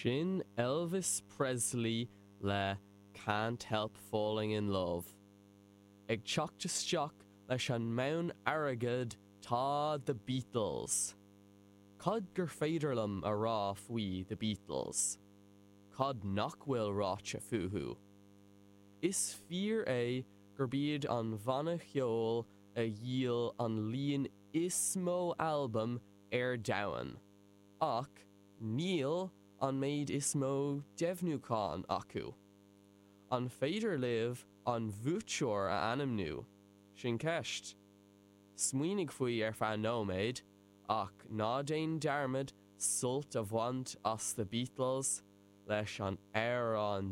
Sin Elvis Presley le Can't Help Falling in Love. Ag teacht isteach leis an mbonn airgid tá The Beatles. Cad gur féidir liom a rá faoi The Beatles? Cad nach bhfuil ráite fúthu? Is fíor é gurb iad an banna ceoil a dhíol an líon is mó albam ar domhan, ach níl an méid is mó deimhniúchán acu. An féidir libh an buaiteoir a ainmniú? Sin ceist. Smaoinigh faoi ar feadh nóiméad, ach ná déan dearmad sult a bhaint as The Beatles leis an amhrán.